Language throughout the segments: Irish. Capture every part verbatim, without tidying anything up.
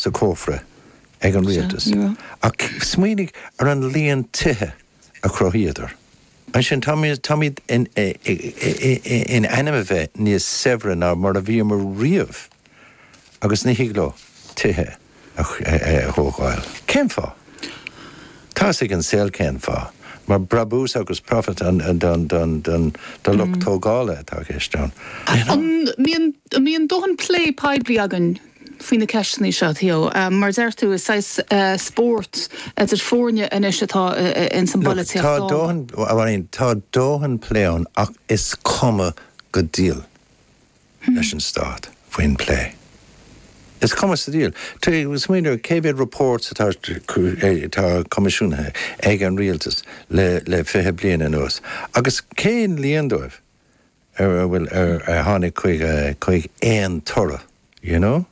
sa cófra ag an rialtas. Ach smaoinigh ar an líon tithe a chruthaíodar. Ansin táimid in in ainm a bheith níos saibhre ná mar a bhíomar riamh agus ní thig leo tithe a thógáil. Cén fáth? Tá ag an saol cén fáth. Mar brabús agus profit an don don don do lucht tógála atá ceist ann. An mbíonn dóthain plé poiblí againn faoi na ceisteanna seo Theo mar deir tú is saghas spórt idir foirne anois atá in san Tá dóthain tá dóthain plé ann ach is cuma go diail leis an stát faoin plé. Is cuma sa diabhal. Smaoinigh cé mhéad reports atá atá coimisiúnaithe ag an rialtas le le fiche bliain anuas. Agus cén líon dóibh ar bhfuil ar ar tháinig chuig chuig aon toradh, you know?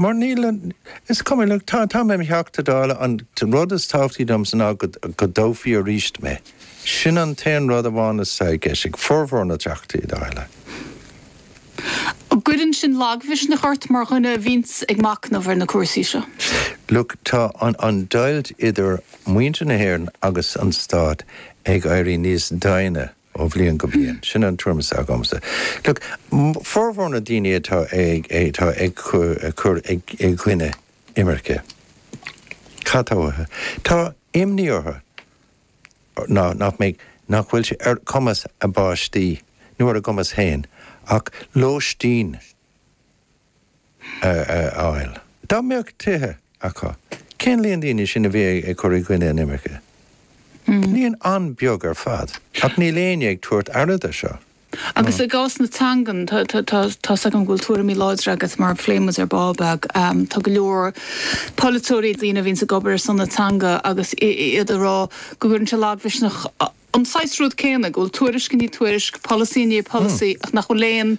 Mar níl is cuma look, tá tá mé Teachta Dála an rud is tábhachtaí domsa ná go go dtoghfaí arís mé. Sin an t-aon rud amháin is ag ag formhór na Teachtaí Dála. Cuireann sin lagmhisneach ort mar dhuine a bhíonns ag machnamh ar na cúrsaí seo. Look, tá an, an deighilt idir muintir na hÉireann agus an stát ag éirí níos doimhne ó bhliain go bliain. Sin an tuairim agamsa. Look, formhór na daoine atá ag atá ag cur ag ag gcoinne imirce. Cad tá Tá imní orthu ná nach méid nach bhfuil sé ar cumas a bpáistí nó ar a gcumas féin ach lóistín a fháil. Dá mbeadh tithe acu. Cén líon daoine sin a bhí ag cur i gcoinne an imirce? Líon an-bheag ar fad, ach níl éinne ag tabhairt aire de seo. Agus i gcás na teangan tá agam bhfuil tuairimí láidre agat mar phléigh muid ar ball beag tá go leor polaiteoirí daoine a bhíonn ag obair ar son na teanga agus iad ag rá go gcuireann sé lagmhisneach an saghas rud céanna go bhfuil tuairisc ní tuairisc polasaí ní polasaí ach nach bhfuil aon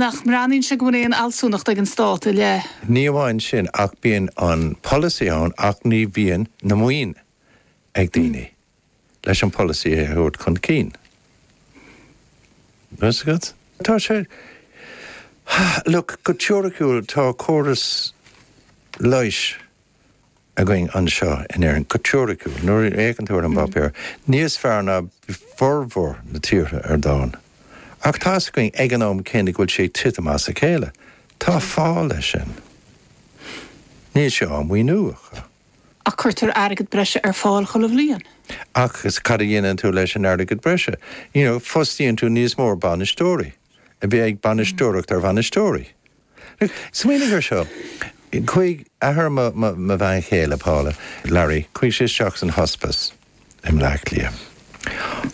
nach mbreathnaíonn sé go bhfuil aon fhealsúnacht ag an stát i leith. Ní amháin sin ach bíonn an polasaí ann ach ní bhíonn na maoin ag daoine leis an polasaí a thabhairt chun cinn. Agat? Tá sé Look, go teoiriciúil tá córas leighis againn anseo in Éirinn go teoiriciúil nuair a fhéachann tú ar an bpáipéar níos fearr ná formhór na tíortha ar domhan. Ach tá againn ag an am céanna go bhfuil sé titim as a chéile. Tá fáth leis sin. Níl sé á mhaoiniú acu. Ach cuirtear airgead breise ar fáil chuile bhliain. Ach is cad a dhéanann tú leis an airgead breise. You know, fostaíonn tú níos mó bainisteoirí a bhí ag bainisteoireacht ar bhainisteoirí. Smaoinigh ar seo. Chuaigh athair mo bhean chéile Paula, Larry, chuaigh sé isteach san hospice i mBleá Cliath.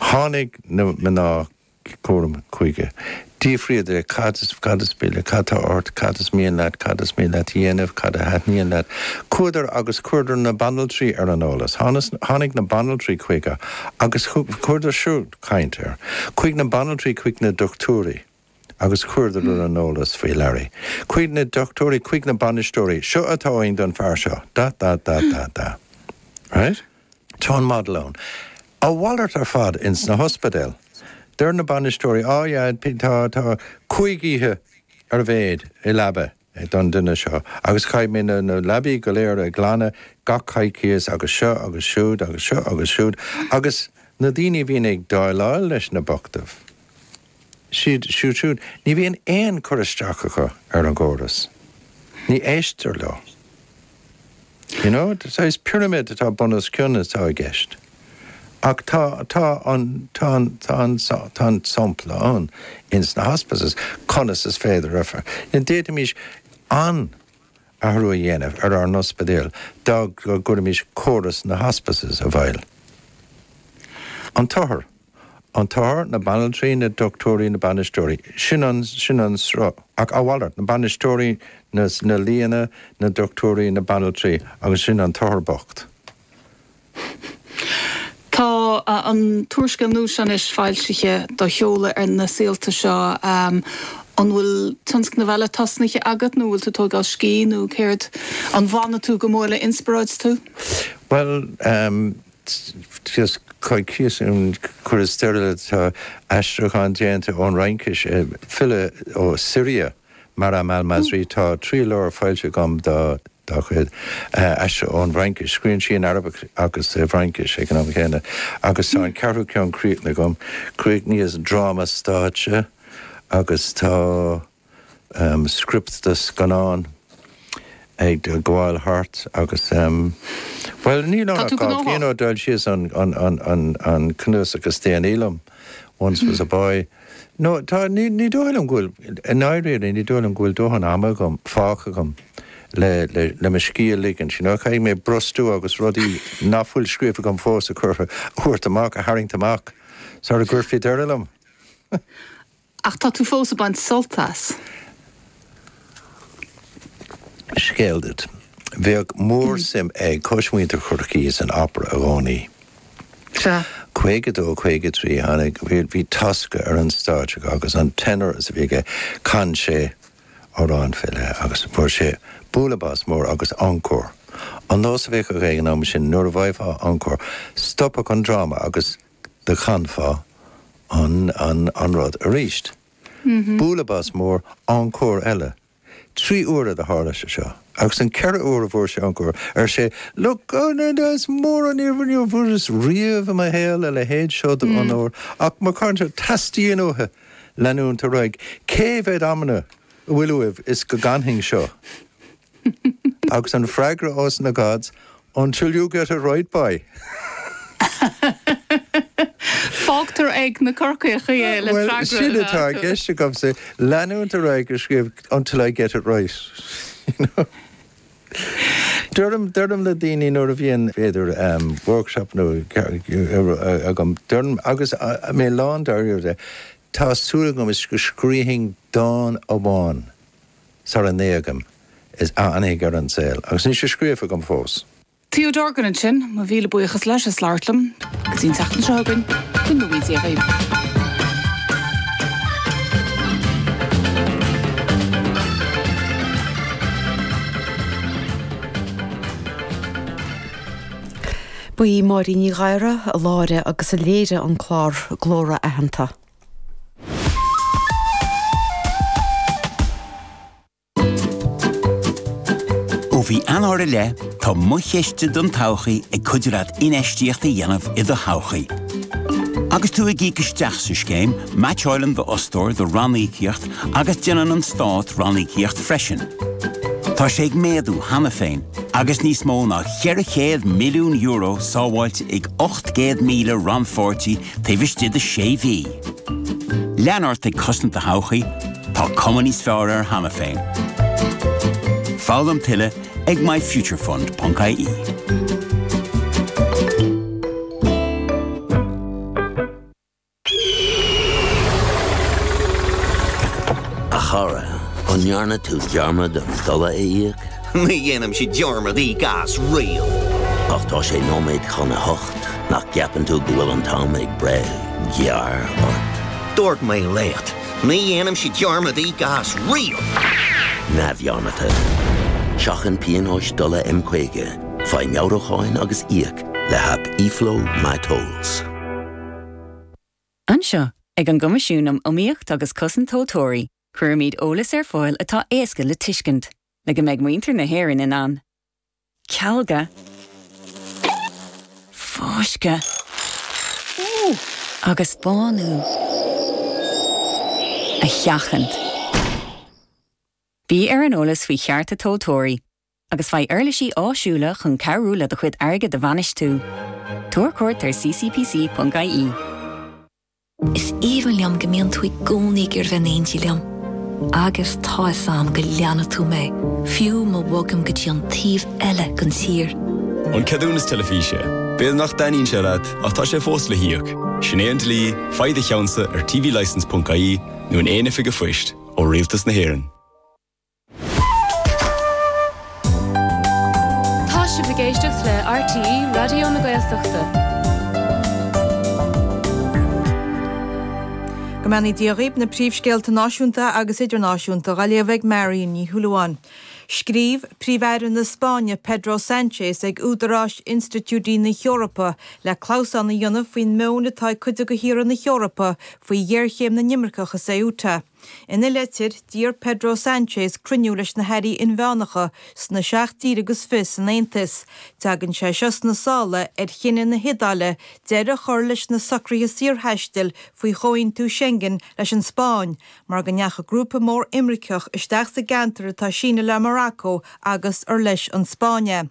Tháinig na mná cúraim chuige. D'fhiafraíodar cad is cad is bile, cad tá ort, cad is mian leat, cad is mian leat dhéanamh, cad a thaitníonn leat. Chuadar agus chuireadar na banaltraí ar an eolas. Tháinig na banaltraí chuige agus chuireadar siúd caint air. Chuaigh na banaltraí chuig na dochtúirí. agus chuireadar ar an eolas faoi Larry. Chuaigh na dochtúirí chuig na bainisteoirí, seo atá ann don fear seo, da da da da da. Right? Tá an model ann. A mhalairt ar fad ins na hospidéil. Deir na bainisteoirí á yeah, tá tá cúig oíche ar a mhéad i leaba don duine seo, agus caithfidh mé na, na leabaí go léir a ghlanadh gach coicíos agus seo agus siúd agus seo agus siúd, agus na daoine a bhíonn ag déileáil leis na bochtaibh. Siad siúd siúd, ní bhíonn aon chur isteach acu ar an gcóras. Ní éistear leo. You know, is pyramid atá bun os cionn atá i gceist. Ach tá tá an tá an tá an tá an sampla ann ins na hospices conas is féidir a D'fhéadfaimis an athrú a dhéanamh ar ár n-ospidéil dá gcuirfimis córas na hospices i bhfeighil. An t-othar. An t-othar na banaltraí na dochtúirí na bainisteoirí. Sin an sin an sruth ach a mhalairt na bainisteoirí na, na lianna na dochtúirí na banaltraí agus sin an t-othar bocht. Tá an t-úrscéal nua seo anois foilsithe do sheoladh ar na saolta seo um, an bhfuil tionscnamh eile tosnaithe agat nó bhfuil tú tógáil scíth nó céard an bhfanann tú go mór le inspioráid tú? Well um, just coicís chuir stile tá aistriúchán déanta ón Fhraincis file ó Siria Maram al-Masri tá trí leabhar foilsithe agam dá dá chuid, aistrithe ón bhFraincis. Scríobhann sí in Araibis agus i bhFraincis ag an am chéanna. Agus tá an ceathrú ceann críochnaithe agam. Chríochnaíos dráma stáitse agus tá script do scannán ag gabháil thart agus, bhuel, níl ann ach dhá bhliain ó d'fhoilsíos an cnuasach is déanaí liom, Once Was a Boy. No, tá, ní, ní dóigh liom go bhfuil, i ndáiríre, ní dóigh liom go bhfuil dóthain ama agam, fágtha agam le, le, le mo scíth a ligint, you know, caithfidh mé brostú agus rudaí nach bhfuil scríofa agam fós a chur, a thabhairt amach, a tharraingt amach sara gcuirfí deireadh liom. Ach tá tú fós ag baint sult as. Scéal duit. Bheadh mór-suim ag cosmhuintir Chorcaí san opera i gcónaí. Sea. Caoga dó, caoga trí, tháinig, bhí, bhí Tosca ar an stáitse agus an tenor is a bhí aige, chan sé amhrán fé leith agus fuair sé bualadh bos mór agus encore. An nós a bhíodh ag an am sin, nuair a bhfaighfeá encore, stopfadh an dráma agus do chanfá an, an, an rud arís. Bualadh bos mór, encore eile. Trí huaire do tharla sé seo. Agus an ceathrú uair a bhfuair sé encore, ar sé, Look, oh, no, no, is mór an onóir níor bhfuaireas riamh i mo shaol a leithéid seo d'onóir, ach má chanann, teastaíonn uathu leanúint ar aghaidh. Cé mhéad amanna a bhfuil uaibh is go gcanfainn seo? Agus an freagra ós na gods, Until you get it right, boy. Fágtar ag na Corcaíocha é le Bhuel, freagra sin a atá i fháil. gceist agamsa, leanúint ar aghaidh ag scríobh until I get it right. You know? Deirim, deirim le daoine nuair a bhíonn, b'fhéidir, um, workshop nó agam, deirim, agus mé lán dáiríre, tá súil agam is go scríobhfainn dán amháin sara n-éagaim is a fhanfaidh ar an saol, agus níl sé scríofa agam fós. Theo Dorgan ansin, mo mhíle buíochas leis as labhairt liom. Go dtí an tseachtain seo chugainn, go ngnóthaí Dia dhaoibh. Ba í Máirín Ní Ghadhra a láithrigh agus a léirigh an clár Glórtha Aitheanta. Ó mhí Eanáir i leith, tá Mo Chiste don Todhchaí ag cuidiú leat infheistíocht a dhéanamh i do thodhchaí. Agus tú ag íoc isteach sa scéim, meaitseálann d'fhostóir do ranníocaíocht agus déanann an stát ranníocaíocht freisin. Tá sé ag méadú cheana féin, agus níos mó ná ceithre chéad milliún euro sábháilte ag ocht gcéad míle rannpháirtí taobh istigh de sé mhí. Lean ort ag cosaint do thodhchaí, tá cuma níos fearr air cheana féin. Foghlaim tuilleadh ag myfuturefund ponc ie. A chara, an ndearna tú dearmad an dola a íoc? Ní dhéanaimse dearmad íoc as riamh. Ach tá sé nóiméad chun a hocht, nach gceapann tú go bhfuil an t-am ag breith gearr ort? Dúirt mé leat, ní dhéanaimse dearmad íoc as riamh! Neamhdhearmadta. Seachain pionóis dola M caoga, faigh meabhrúcháin agus íoc le haip eFlow MyTolls. Anseo, ag an gCoimisiún um Iomaíocht agus Cosaint Tomhaltóirí, cuirimid eolas ar fáil atá éasca le tuiscint, le go mbeidh muintir na hÉireann in ann cealga, fáisceadh agus bánú a sheachaint. Bí ar an eolas faoi chearta tomhaltóirí agus faigh uirlisí áisiúla chun cabhrú le do chuid airgid a bhainistiú. Tabhair cuairt ar C C P C ponc I E. Is aoibhinn liom go mbíonn tú i gcónaí ag iarraidh bheith in éindí liom. Agus tá 'fhios a'm go leanfaidh tú mé, fiú má bhogaim go dtí an taobh eile den tír. An ceadúnas teilifíse. B'fhéidir nach dtaitníonn sé leat, ach tá sé fós le híoc. Sin é an dlí, faigh do cheannsa ar tvlicence ponc ie nó in aon oifig an phoist ó Rialtas na hÉireann. Tá sibh ag éisteacht le R T E Raidió na Gaeltachta. Go mbeannaí Dia dhaoibh, na príomhscéalta náisiúnta agus idirnáisiúnta á léamh ag Marion Ní Shúilleabháin. Scríobh Príomh-Aire na Spáinne Pedro Sánchez ag údaráis institiúidí na hEorpa le clamhsán a dhéanamh faoin meon atá ag cuid de thíortha na hEorpa faoi ghéarchéim na n-imirceach i Ceuta. Ina litir, d'iarr Pedro Sánchez cruinniú leis na hairí inmheánacha sna seacht dtír agus fiche san Aontas. Tagann sé seo sna sála ar chinneadh na hIodáile deireadh a chur leis na socruithe saorthaistil faoi Chomhaontú Schengen leis an Spáinn, mar go ndeachaigh grúpa mór imirceach isteach sa gceantar atá sínithe le Morocco agus ar leis an Spáinn é.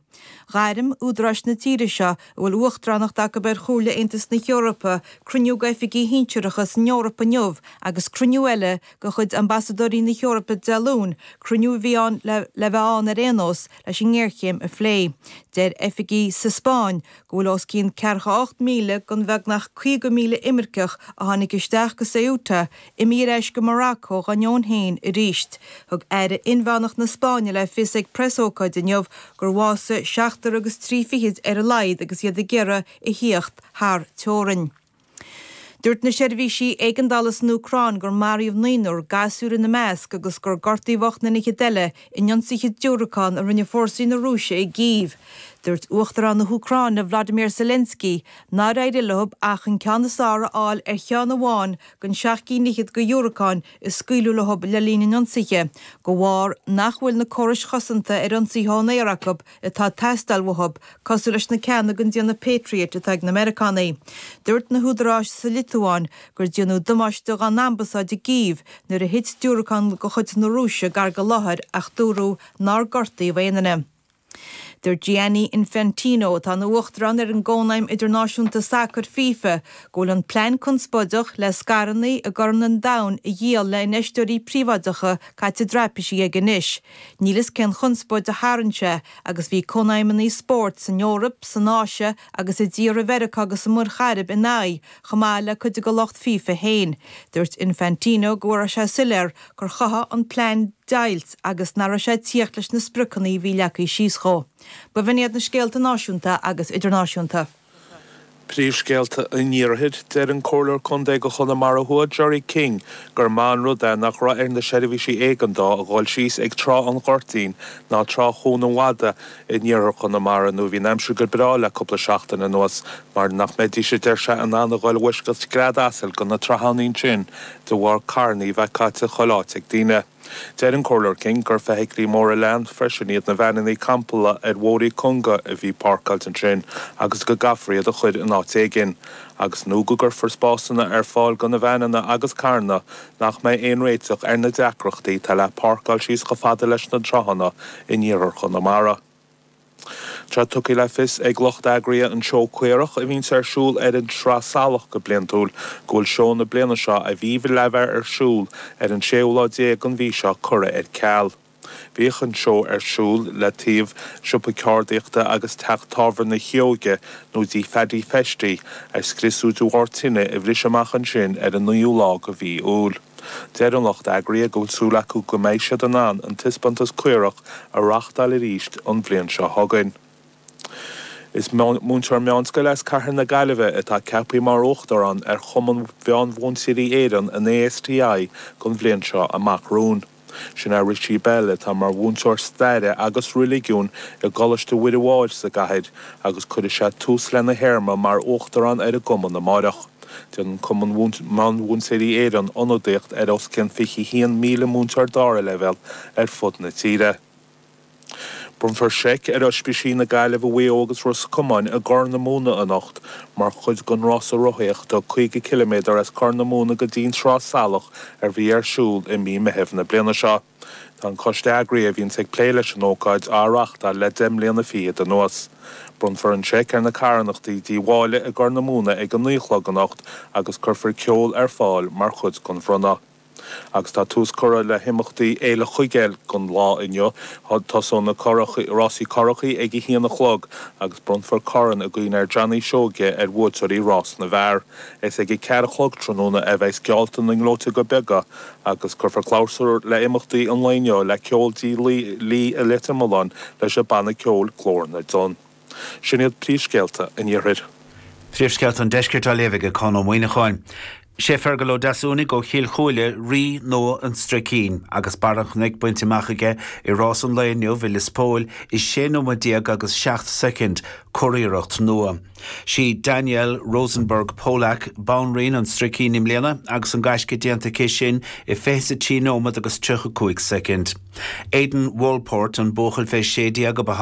Ghairm údaráis na tíre seo, a bhfuil uachtaránacht acu ar Chomhairle Aontas na hEorpa, cruinniú d'oifigigh shinsearacha san Eoraip inniu agus cruinniú eile de chuid ambasadóirí na hEorpa Dé Luain, cruinniú a bhí ann le bheith ann ar aon nós leis an ngéarchéim a phlé. Deir oifigigh sa Spáinn go bhfuil os cionn ceathracha a hocht míle den bheagnach caoga míle imirceach a tháinig isteach go Ceuta imithe ar ais go Morocco dá ndeoin féin arís. Thug Aire Inmheánach na Spáinne le fios ag preasócáid inniu gur bhásaigh seachtar agus trí fichid ar a laghad agus iad ag iarraidh a thíocht thar teorainn. Dúirt na seirbhísí éigeandála san Úcráin gur maraíodh naonúr, gasúir ina measc, agus gur gortaíodh ocht nduine fhichead eile in ionsaithe diúracán a rinne fórsaí na Rúise i gCív. Dúirt Uachtarán na hÚcráine Vladimir Zelensky nár éirigh leo ach an ceann is fearr a fháil ar cheann amháin den seacht gcinn fhichead de dhiúracáin a scaoileadh leo le linn an ionsaithe, de bharr nach bhfuil na córais chosanta ar ionsaithe ón aer acu atá ag teastáil uathu, cosúil leis na ceanna den déanamh Patriot atá ag na Meiriceánaigh. Dúirt na húdaráis sa Liotuáin gur déanadh damáiste dá n-ambasáid i gCív nuair a thit diúracán de chuid na Rúise gar don láthair ach dúradh nár gortaíodh aon duine. Dúirt Gianni Infantino, atá ina uachtarán ar an gCónaidhm Idirnáisiúnta Sacair, FIFA, go bhfuil an plean conspóideach le scaireanna i gCorn an Domhain a dhíol le infheisteoirí príobháideacha caite i dtraipisí aige anois. Níl fhios cén chonspóid a tharraing sé agus bhí cónaidhmeanna spóirt san Eoraip, san Áise agus i dtíortha Mheiriceá agus sa Mhuir Chairib ina aghaidh, chomh maith le cuid de lucht FIFA féin. Dúirt Infantino go raibh sé soiléir gur chothaigh an plean deighilt agus nach raibh sé ag tíocht leis na spriocanna a bhí leagtha síos dhó. B'in iad na scéalta náisiúnta agus idirnáisiúnta. Príomhscéalta an Iarthair, Deir an Comhairleoir Contae do Chonamara Thuaidh, Gerry King, gur maith an rud é nach raibh ar na seirbhísí éigeandála a dhul síos ag Trá an Ghoirtín ná Trá Chuan an Mhada in iarthar Chonamara nó bhí an aimsir go breá le cúpla seachtain anuas mar nach mbeidís, a deir sé, in ann a dhul i bhfoisceacht scread asail go na tráthanna sin de bharr carranna a bheith caite chuile áit ag daoine. Deir an Comhairleoir King gur feithiclí móra leanbh freisin iad na veaineanna campála ar bhóithrí cúnga a bhí páirceáilte ansin agus go gcaithfear iad a chur in áit éigin, agus nó go gcuirfear spásanna ar fáil do na veaineanna agus carranna nach mbeidh aon réiteach ar na deacrachtaí atá le páirceáil síos chomh fada leis na tráthanna in iarthar Chonamara. Tá tugtha le fios ag lucht eagraithe an Seó Caorach a bhíonns ar siúl ar an Sraith Salach go bliantúil go bhfuil seó na bliana seo a bhí le bheith ar siúl ar an séú lá déag den mhí seo curtha ar ceal. Bhíodh an seó ar siúl le taobh siopa ceardaíochta agus teach tábhairne Shióige nó dtí Phaddy Festy a scriosadh de bharr tine a bhris amach ansin ar an naoú lá de mhí Iúil. Deir an lucht eagraithe go bhfuil súil acu go mbeidh siad in ann an taispeántas caorach a reáchtáil arís an bhliain seo chugainn. Is múinteoir meánscoile as cathair na Gaillimhe atá ceaptha mar Uachtarán ar Chumann Mheánmhúinteoirí Éireann, an ASTI, don bhliain seo amach romhainn. Sin é Richie Bell atá mar mhúinteoir staire agus reiligiúin i gColáiste Mhuire Mháire sa gcathair agus cuirfidh sé tús lena théarma mar Uachtarán ar an gcumann amáireach. Déanann Cumann Meánmhúinteoirí Éireann ionadaíocht ar os cionn fiche a haon míle múinteoir dara leibhéal ar fud na tíre. Bronnfar seic ar Oispísí na Gaillimhe, Mhaigh Eo agus Ros Comáin i gCorr na Móna anocht mar chuid den rása rothaíochta caoga ciliméadar as Corr na Móna go dtí an Sraith Salach a bhí ar siúl i mí Meithimh na bliana seo. Tá an coiste eagraithe a bhíonns ag plé leis an ócáid á reáchtáil le deich mbliana fichead anuas. Bronnfar an seic ar na carthanachtaí Dí Mháille i gCorr na Móna ag a naoi a chlog anocht agus cuirfear ceol ar fáil mar chuid den bhronnadh. Agus tá tús curtha le himeachtaí Fhéile Chuigéil don lá inniu. Tosóidh na rásaí curachaí ag a haon a chlog agus bronnfar corn i gcuimhne ar Johnny Seoige ar bhuaiteoirí rás na bhfear. Is ag a ceathair a chlog tráthnóna a bheidh geallta na ngleoiteoga beaga agus cuirfear clabhsúr le himeachtaí an lae inniu le ceol dí Lee i Leitir Mealláin leis an banna ceoil Glór na dTonn. Sin iad príomhscéalta an Iarthair. Príomhscéalta an Deiscirt á léamh ag Conn Ó Muíneacháin. Sé Fergal Ó Deasúnaigh ó Chill Chúile rí nua an Stricín agus barr an chnoic bainte amach aige i rás an lae inniu i Lios Póil i sé nóiméad déag agus seacht soicind curiarracht nua. Sí Danielle Rosenberg Polak banríon an Stricín i mbliana agus an gaisce déanta aici sin i fiche trí nóiméad agus tríocha cúig soicind. Aidan Walport an buachaill fé sé déag a ba